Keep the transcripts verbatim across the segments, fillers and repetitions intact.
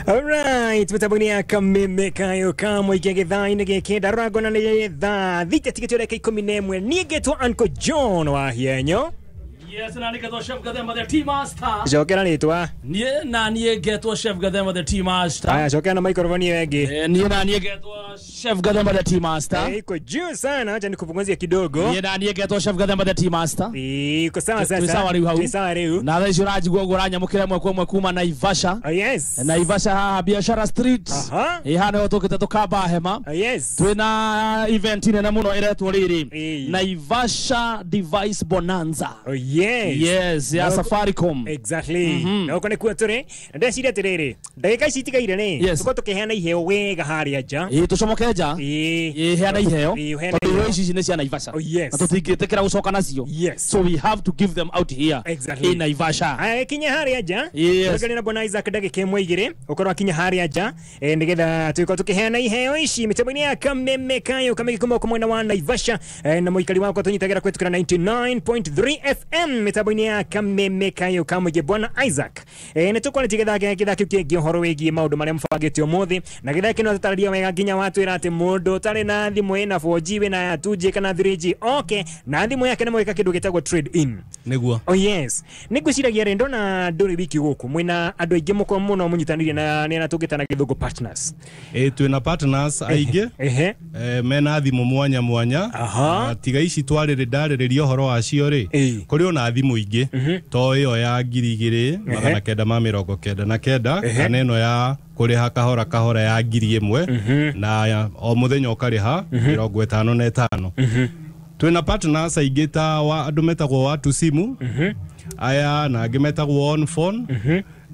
Alright, mitambo-inĩ ya Kameme kayo ka mũingĩ gĩthaa-inĩ gĩkĩ ndarora ngona nĩ thaa thita tigĩtio ndagĩka ikũmi na ĩmwe. Niĩ ngetwo Uncle John wa Hienyo. Yes, na nĩgetwo Chef Gathema the Tea Master. Cokera rĩtwa. Niĩ na niĩ ngetwo Chef Gathema the Tea Master. Aya, cokera na microphone ĩyo ĩngĩ. Eh, niĩ na niĩ ngetwo Chef Gathema the Tea Master. Eh, iko juu sana, acha nikupunguzie kidogo. Niĩ na niĩ ngetwo Chef Gathema the Tea Master. Iko sawa Twĩ sasa. sawa rĩu hau. Twĩ sawa rĩu. Na thaa ici ũranjigua ũguo ũranyamũkĩra ĩmwe kwa ĩmwe kuma Naivasha. Oh yes. Naivasha haha Biashara Street. Aha. Ĩ haha nĩho tũkĩte tũkamba hema. Oh yes. Twĩna event nene mũno ĩretwo rĩrĩ. Ĩĩ. Naivasha Device Bonanza. Oh yes. Yes, ya Na- Safaricom. Exactly. Na uko nĩkuo tũrĩ. Na ndeciria atĩrĩrĩ, ndagĩka ici itigaire rĩ, Yes. tũkorwo tũkĩheana iheo wega harĩa nja. Ĩ tũcomoke nja. Ĩĩ. Ĩ heana iheo. Ĩĩ, ũheane Tondũ iheo iheo. ici nĩ cia Naivasha. Oh, yes. Na tũtingĩtĩkĩra gũcoka nacio. Yes. So we have to give them out here. Exactly. In Naivasha. Aya, kinya harĩa nja. Yes. Tũrũgane na Bwana Isaac ndagĩka ĩmwe igĩrĩ, ũkorwo akinya harĩa nja, eh, nĩgetha tũgĩkorwo tũkĩheana iheo ici mĩtambo-inĩ ya Kameme kayo kamĩgĩ kuma gũkũ mwena wa Naivasha, eh, na mũikari wakwa tũnyitagĩra kũhetũkĩra ninety-nine point three F M mĩtambo-inĩ ya Kameme kayo kamũingĩ. Bwana Isaac, eh, nĩ tũkwarĩtie gĩthaa gĩthaa kĩu kĩngĩ ũhoro wĩgiĩ maũndũ marĩa mũbangĩte ũmũthĩ, na gĩthaa kĩno tũtarĩria wega nginya watwĩra atĩ mũndũ ũtarĩ na thimũ ĩna four G wĩna ya two G kana three G okay, na thimũ yake nĩ mwĩka kĩndũ gĩtagwo trade in. Nĩguo. Oh yes. Nĩ ngwĩciragia rĩ, ndona ndũrĩ wiki gũkũ mwĩna andũ aingĩ mũko mũno mũnyitanĩire na nĩ arĩa tũngĩtana gĩthũngũ partners. Ĩ twĩna partners aingĩ. Ehe. Eh, mena thimũ mwanya mwanya. Aha. Na tiga ici twarĩrĩ ndarĩrĩria ũhoro wacio rĩ, Ĩĩ. kũrĩ ona thimũ ingĩ to ĩyo ya ngiri igĩrĩ magana kenda ma mĩrongo kenda na kenda Ehe. kana ĩno ya kũrĩha kahora kahora ya ngiri ĩmwe na ya- o mũthenya ũkarĩha mĩrongo ĩtano na ĩtano. Twĩna partners aingĩ ta wa andũ metagwo Watu Simu aya, na angĩ metagwo On Phone,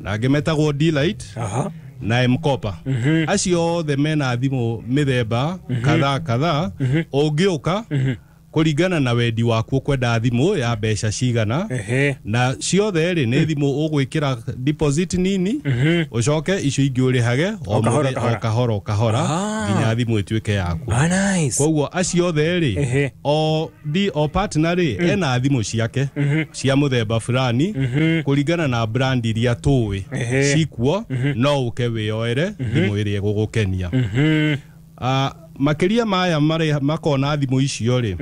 na angĩ metagwo Delight Aha. na M-Kopa. Acio othe mena thimũ mĩthemba kadhaa kadhaa. Ũngĩũka kũringana na wendi waku ũkwenda thimũ ya mbeca cigana, Ehe. na ciothe rĩ nĩ thimũ ũgwĩkĩra deposit nini, ũcoke icio ingĩ ũrĩhage o O kahora, mũthenya- kahora. o kahora o kahora Ah. nginya thimũ ĩtuĩke yaku. Ah, nice. Koguo acio othe rĩ, Ehe. o di o partner rĩ ena thimũ ciake cia mũthemba fulani kũringana na brand iria tũĩ Ehe. cikuo, no ũke wĩyoere thimũ ĩrĩa ĩgũgũkenia. Ah, makĩria maya marĩa makona thimũ icio rĩ,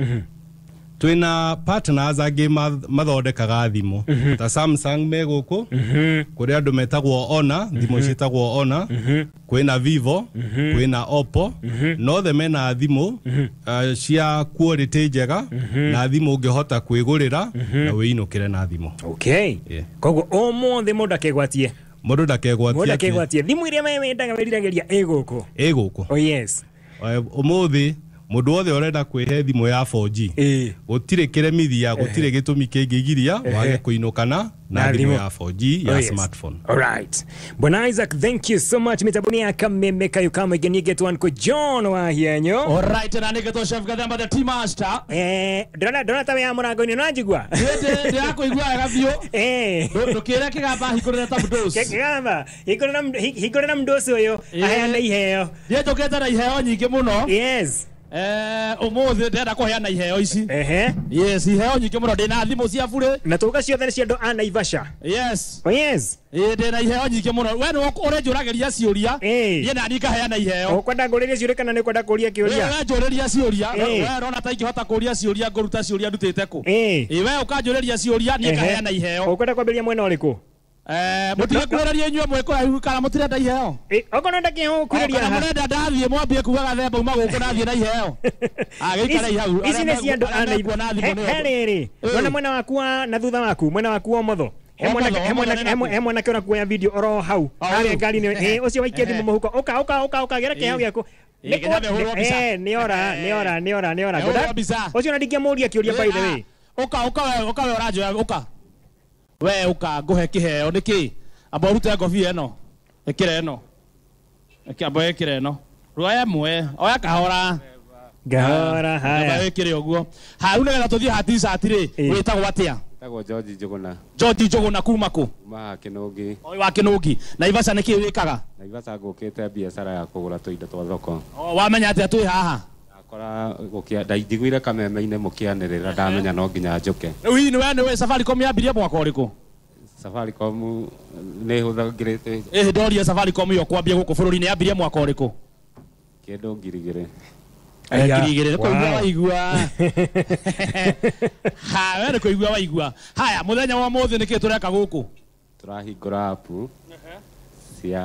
twĩna partners angĩ ma- mathondekaga thimũ ta Samsung me gũkũ, kũrĩ andũ metagwo Honor, thimũ ciĩtagwo Honor, kwĩna Vivo, kwĩna Oppo, na othe mena thimũ eh, cia quality njega na thimũ ũngĩhota kwĩgũrĩra na wĩinũkĩre na thimũ. Okay. Yeah. Koguo ũmũthĩ mũndũ akegwatie. Mũndũ ndakegwatie. Mũndũ akegwatie thimũ iria we wendaga wĩriragĩria ĩ gũkũ. Ĩ gũkũ. Oh yes. Eh, ũmũthĩ mũndũ wothe ũrenda kwĩhe thimũ ya four G, Ĩĩ. gũtirĩ kĩremithia, gũtirĩ gĩtũmi kĩngĩgiria wage kũinũkana na Na thimũ thimũ. ya four G ya Oh, yes. smartphone. All right. Bwana Isaac, thank you so much. Mitaboni ya Kameme kayo kama igenie get one ko John wa Hienyo. Alright, na nĩgetwo Chef Gathema the Tea Master. Eh, ndona ndona tawe ya mũrango-inĩ no njigua. Ndĩ ndĩrakũigua wega biũ. Eh. Ndũkĩre kĩgamba hingũrĩre ta mũndũ. Kĩgamba, hingũrĩra hingũrĩra mũndũ ũcio ũyũ aheane iheo. Niĩ njũkĩte na iheo nyingĩ mũno. Yes. Eh, ũmũthĩ ndĩrenda kũheana iheo ici. Ehe. Yes, iheo nyingĩ mũno, ndĩna thimũ cia burĩ. Na tũka ciothe nĩ cia andũ a Naivasha. Yes. Oh yes. Ĩ ndĩna iheo nyingĩ mũno. We nĩwe ũrenjũragĩria ciũria. Ĩ. Niĩ nani ngaheana iheo. Ũkwenda ngũrĩrie ciũria kana nĩ ũkwenda kũria We kĩũria? ũrenjũrĩria ciũria. Ĩ. We ũrona ta ingĩhota kũria ciũria ngũruta ciũria ndutĩte kũ? Ĩ. Ĩ we ũkanjũrĩria ciũria niĩ Ehe. ngaheana iheo. Ũkwenda kwambĩrĩria mwena ũrĩkũ? Eh, mũtige kwĩrĩria inyuĩ mwĩ kũraihu kana mũtirenda iheo? Ĩ, okorwo ndakĩheo ũkwĩrĩria Kana haha. mũrenda ndathiĩ mwambie kuga gathemba uma gũkũ nathiĩ na iheo. Ah, gĩikare hau. Ici nĩ cia andũ a Arĩa mekuona thimũ He nĩo. rĩrĩ, Ĩ. ndona mwena waku wa na thutha waku, mwena waku wa ũmotho. He mwanake Ũmotho, he mwanake ũmotho nĩ he mwanake ũrakuoya video oro hau. O, Harĩa ũyũ. ngari-inĩ. Ĩ, ũcio waikia thimũ mũhuko. Ũka ũka ũka ũka gera kĩheo Ĩ. gĩaku. Ĩ, nginya mehũrwo mbica. Eh, nĩ ora, nĩ ora, nĩ ora, nĩ ora. Mehũrwo mbica. Ũcio ona ndingĩamũria kĩũria by the way. Ũka ũka we ũka we ũranjoya ũka. We ũka ngũhe kĩheo nĩkĩ? Amba ũrute ngobia ĩno. Ĩkĩra ĩno. Ĩkĩ amba ĩkĩra ĩno. Ruoya ĩmwe, oya kahora. Ngahora Amba haya. ĩkĩre ũguo. Ha rĩu nĩgetha tũthiĩ ha t-shirt rĩ, Ĩ. wĩtagwo atĩa? Tagwo George Njuguna. George Njuguna kuma kũ? Kuma Kĩnũngi. Ũyũ wa Kĩnũngi. Naivasha nĩkĩ wĩkaga? Naivasha ngũkĩte biacara ya kũgũra tũindo twa thoko. O, wamenya atĩa twĩ haha? Ndakora gũkĩa ndaiguire kameme-inĩ mũkĩanĩrĩra ndamenya no nginya njũke. Rĩu hihi nĩwe nĩwe Safaricom yambirie mwaka ũrĩkũ? Safaricom nĩ hũthagĩrĩte. Ĩhĩ ndoria Safaricom yo kwambia gũkũ bũrũri-inĩ yambirie mwaka ũrĩkũ? Kĩndũ ngiri igĩrĩ. Ngiri igĩrĩ kũigua waigua. Ha we nĩ kũigua waigua. Haya mũthenya wa mũthĩ nĩkĩ tũreka gũkũ? Tũrahingũra app cia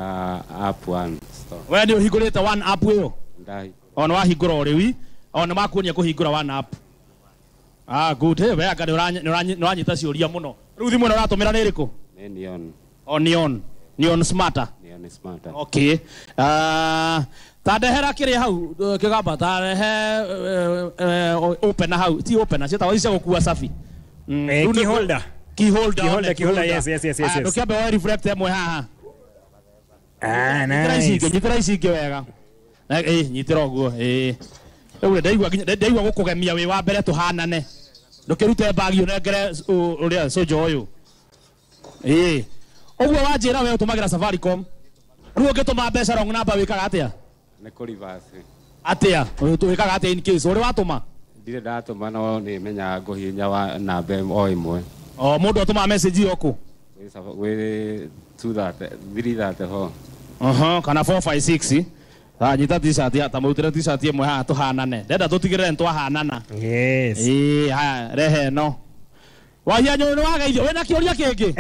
app one store. We nĩ ũhingũrĩte one app ĩyo? Ndahingũra. Ona wahingũra o rĩu, ona makuonia kũhingũra one app. Ah good, hey, we anga nĩ ũranyita ciũria mũno. Rĩu thimũ ĩno ũratũmĩra nĩ ĩrĩkũ? Nĩ Neon. O Neon. Neon Smarter. Neon Smarter. Okay. Ah ta ndehera kĩrĩa hau kĩgamba ta rehe opener hau ti opener ciĩtagwo ici cia gũkua safi. Key holder. Key holder. Key holder, key holder, yes, yes, yes, yes. Ndũkĩambe woe reflector ĩmwe haha. Ah, nice. Nyitĩra ici ingĩ wega. Eh, nyitĩra ũguo, eh. Rĩu ndaigua ndaigua gũkũgemia wĩ wa mbere tũhanane. Ndũkĩrute bagi ũnengere ũrĩa sojo ũyũ. Eh. Ũguo wanjĩra we ũtũmagĩra Safaricom. Rĩu ũngĩtũma mbeca wrong number wĩkaga atĩa? Nĩ kũ reverse. Atĩa? Wĩkaga atĩa in case ũrĩ watũma? Ndirĩ ndatũma no nĩ menyaga ngũhihinya wa namba o ĩmwe. O mũndũ atũmaga message ĩyo kũ? Wĩ two thirty three thirty four. Aha, kana four five six. Ah, nyita t-shirt ya tamũrutĩre t-shirt ĩmwe haha tũhanane. Ndenda tũtigĩrĩre nĩtwahanana. Yes. Ĩĩ, haya rehe ĩno. Wahia nyũĩ nĩ wageithio wĩna kĩũria kĩngĩ?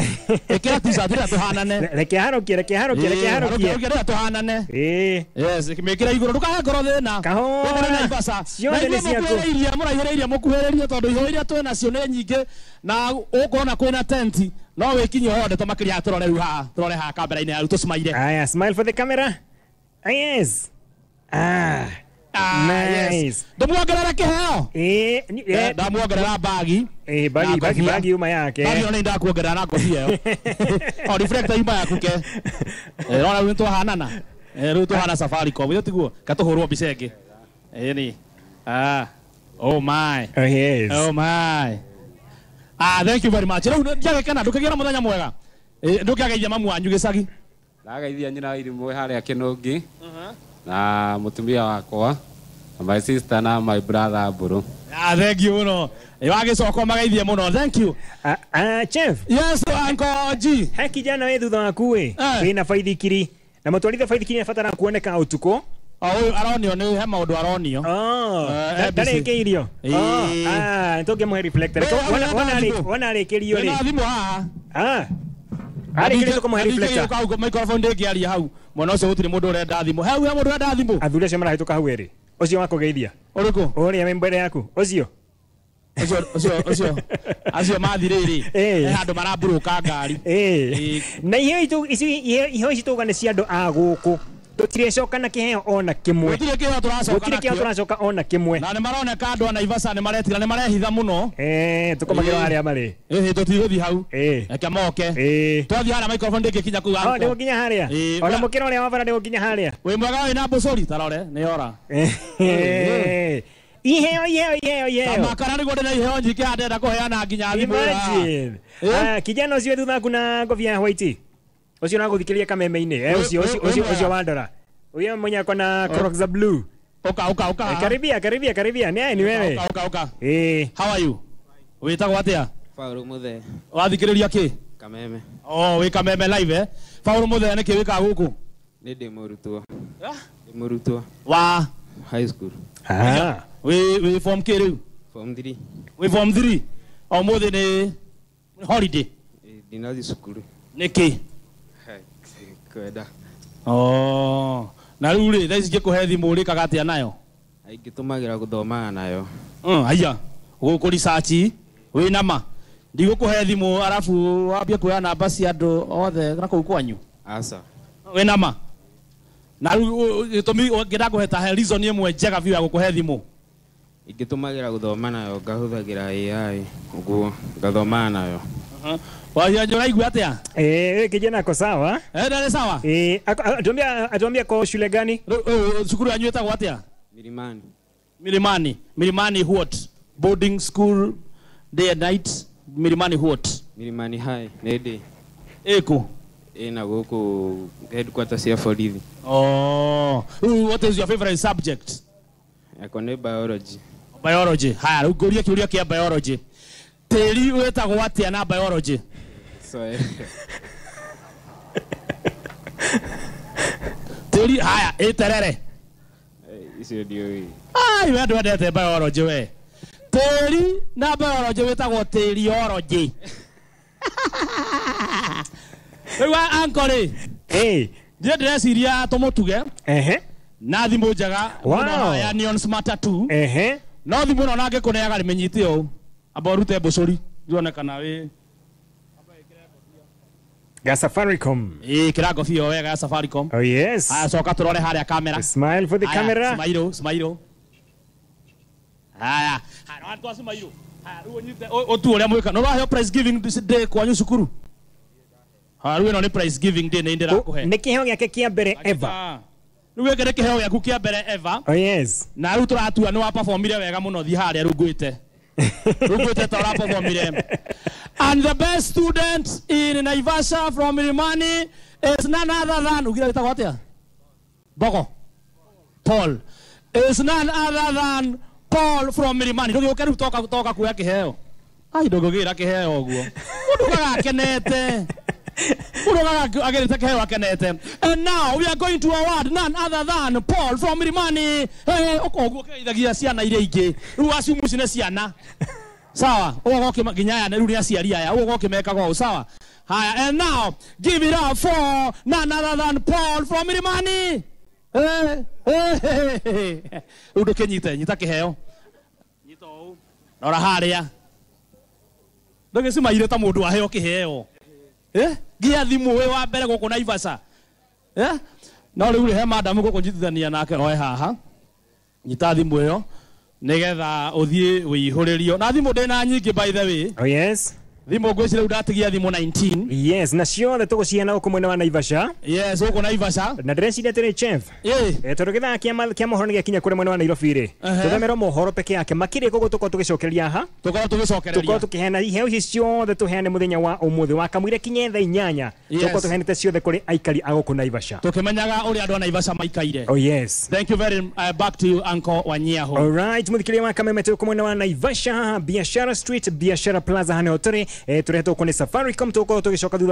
Ĩkĩra t-shirt ĩrĩa tũhanane. Reke harokie, reke harokie, reke harokie. Harokie ĩrĩa tũhanane. Ĩĩ. Yes, mĩkĩre igũrũ ndũkahe ngoro thĩna. Kahora. Naivasha. Ciothe nĩ ciaku. Mũkuhĩrĩirie, mũraihĩrĩirie mũkuhĩrĩrie tondũ iheo iria twĩ nacio nĩ nyingĩ na ũkona kwĩna tenti no wĩkinyie ho ndeto makĩria tũrore rĩu haha, tũrore haha kamera-inĩ ya rĩu tũcimaire. Aya, smile for the camera. Ah, yes. Ah. Ah, nice. Yes. Ndũmuongerere kĩheo? Eh, eh, ndamuongerera bagi. Eh, bagi bagi bagi yuma yake. Bagi ona ndakuongerera na ngobia ĩyo. O reflector yuma yaku ke. Eh, rora rĩu twahanana. Eh, rĩu tũhana Safaricom, ĩyo tiguo katũhũrwo mbica ĩngĩ. Eh ni. Ah. Oh my. Oh yes. Oh my. Ah, thank you very much. Rĩu ndiagĩkena ndũkĩgĩra mũthenya mwega. Eh, ndũkĩageithia mamu wanyu gĩcagi. Ndagaithia nyina wa irimũ harĩa Kĩnũngi. Na mũtumia wakwa na my sister na my brother Mburu. Ah, thank you mũno. Wagĩcoka magaithie mũno. Thank you. Ah, ah, Chef. Yes, Uncle G. He kijana we thutha waku we. Wĩna baithikiri. Na mũtwarithia baithikiri nĩabatara kuoneka ũtukũ. O ũyũ aronio nĩ he maũndũ aronio. Oh, ndarĩkĩirio. Oh, ah, nĩtũngĩmũhe reflector. Wona arĩkĩrio rĩ. Wĩna thimũ haha. Ah. Arĩkĩrio tũkũmũhe reflector. Hau microphone ndĩngĩaria hau. Mwena ũcio gũtirĩ mũndũ ũrenda thimũ. Hau he mũndũ ũrenda thimũ. Athuri acio marahĩtũka hau erĩ. Ũcio wa kũgeithia. Ũrĩkũ? Ũrĩa wĩ mbere yaku. Ũcio. Ũcio ũcio ũcio. Acio mathirĩrĩ. He handũ maramburũka ngari. Eh. Na iheo itũ ici iheo ici tũga nĩ cia andũ a gũkũ. Tũtirĩcoka na kĩheo ona kĩmwe. Gũtirĩ kĩheo tũracoka. Gũtirĩ kĩheo tũracoka ona kĩmwe. Na nĩ maroneka andũ a Naivasha nĩ maretira nĩ marehitha mũno. Eh, tũkomagĩra harĩa marĩ. Ĩhĩ tũtigũthiĩ hau. Eh. Reke moke. Eh. Twathiĩ harĩa microphone ndĩngĩkinya kũu. Oh, ndĩgũkinya harĩa. Ona mũkĩra ũrĩa wa bara ndĩgũkinya harĩa. Wĩ mwega wĩna mbũcũri tarore nĩ ora. Eh. Iheo iheo iheo iheo. Tamakara nĩguo ndĩna iheo nyingĩ haha ndĩrenda kũheana nginya thimũ. Imagine. Ah, kijana ũcio thutha waku na ngobia ya white. Ũcio ũragũthikĩrĩria kameme-inĩ. Eh, ũcio ũcio ũcio ũcio wa ndora. Huyo mwenye ako na Crocs za blue. Oka oka oka. Eh, karibia karibia karibia. Ni ni wewe. Oka oka oka. Eh. How are you? Wĩtagwo atĩa? Paul Muthee. Wathikĩrĩria kĩ? Kameme. Oh, wĩ Kameme live eh. Paul Muthee nĩkĩ wĩkaga gũkũ? Nĩ ndĩ mũrutwo. Ndĩ mũrutwo. Wa high school. Ah. Wĩ wĩ form K rĩu? Form three. Wĩ form three. O mũthĩ nĩ holiday. Ndinathiĩ cukuru. Nĩkĩ? Kwenda. Oh. Na rĩu rĩ thaa ici ngĩkũhe thimũ ũrĩkaga atĩa nayo? Ingĩtũmagĩra gũthomaga nayo. Mm, haiya. Gũkũ research wĩna ma. Ndigũkũhe thimũ arabu wambie kuoya namba cia andũ othe na kũu kwanyu. Aca. Wĩna ma. Na rĩu gĩtũmi ngĩenda kũhe ta he reason ĩmwe njega biũ ya gũkũhe thimũ. Ingĩtũmagĩra gũthoma nayo ngahũthagĩra A I ũguo ngathomaga nayo. Wahia ũraigua atĩa? Eh, kijana ako sawa. Eh, ndarĩ sawa? Eh, atuambia atuambia kwa shule gani? Cukuru yanyu ĩtagwo atĩa? Milimani. Milimani. Milimani what? Boarding school day and night. Milimani what? Milimani High, nĩ ndĩ. Ĩkũ? Ĩna gũkũ headquarters ya borithi. Oh, what is your favorite subject? Yakwa nĩ biology. Biology. Haya, rĩu ngũrie kĩũria kĩa biology. Tĩri wĩtagwo atĩa na biology? Soil. Tĩri haya ĩterere. Icio ndiũĩ. Ai we ndwendete biology we. Tĩri na biology wĩtagwo tĩriology. Rĩu anko rĩ. Hey. Ndiĩ ndĩreciria tũmũtuge. Ehe. Na thimũ njega Wow. ya Neon Smarter two. Ehe. No thimũ ĩno nangĩ kũneaga rĩmĩnyite ũũ. Amba ũrute mbũcũri ndionekana wĩ Ga Safaricom. Ĩĩ kĩra ngobia wega ya Safaricom. Oh yes. Aya coka tũrore harĩa kamera. Smile for the Aya, camera. Smile, smile. Haya, haya twa smile. Haya rĩu ũnyite ũtu ũrĩa mwĩka. No ũraheo prize giving day kwanyu cukuru. Haya rĩu ĩno nĩ prize giving day nĩ ndĩrakũhe. Nĩ kĩheo gĩake kĩa mbere ever. Rĩu gĩkĩ nĩ kĩheo gĩaku kĩa mbere ever. Oh yes. Na rĩu tũratua nĩ wa performire wega mũno thiĩ harĩa rĩu ngwĩte. Rĩu ngwĩte ta ũra performire. And the best student in Naivasha from Milimani is none other than ugira wĩtagwo atĩa? Bogo. Paul. Is none other than Paul from Milimani. Ndũgĩũke rĩu toka toka kuoya kĩheo. Ai ndũngĩgĩra kĩheo ũguo. Mũndũ ugaga akenete. Mũndũ ugaga agĩrĩte kĩheo akenete. And now we are going to award none other than Paul from Milimani. Hey, ũguo kĩgeithagia ciana iria ingĩ. Rĩu aciumu ici nĩ ciana. Sawa, ũguo ũkĩ nginya aya rĩu nĩ aciari aya, ũguo ũkĩmekaga ũũ, sawa. Haya, and now give it up for none other than Paul from Milimani. Eh, eh, rĩu ndũkĩnyite, nyita kĩheo. Nyita ũũ. Rora harĩa. Ndũgĩcimaire ta mũndũ waheo kĩheo. Eh? Nginya thimũ wĩ wa mbere gũkũ Naivasha. Eh? No rĩu rĩ he madam gũkũnyitithania nake oe haha. Nyita thimũ ĩyo nigetha ũthiĩ wĩihũrĩrio. Na thimũ ndĩna nyingĩ by the way. Oh yes. Thimũ ngwĩciria rĩu ndatigia thimũ nineteen. Yes, na ciothe tũgũciheana gũkũ mwena wa Naivasha. Yes, gũkũ Naivasha. Na ndĩreciria atĩrĩ chef. Ĩĩ. Eh, tondũ gĩthaa kĩa kĩa mohoro nĩgĩakinya kũrĩ mwena wa Nairobi rĩ. Tũthomerwo mohoro peke yake makĩria koguo tũkorwo tũgĩcokereria haha. Tũkorwo tũgĩcokereria. Tũkorwo tũkĩheana iheo ici ciothe tũheane mũthenya wa ũmũthĩ wa kamũira kinye thaa inyanya. Tũkorwo tũheanĩte ciothe kũrĩ aikari a gũkũ Naivasha. Tũkĩmenyaga ũrĩa andũ a Naivasha maikaire. Oh yes. Thank you very uh, back to you Uncle Wanyiaho. All right, mũthikĩrĩria wa Kameme tũkũ mwena wa Naivasha, Biashara Street, Biashara Plaza hana tũrĩ. Eh, tũrehetwo kũ nĩ Safaricom tũkorwo tũgĩcoka thutha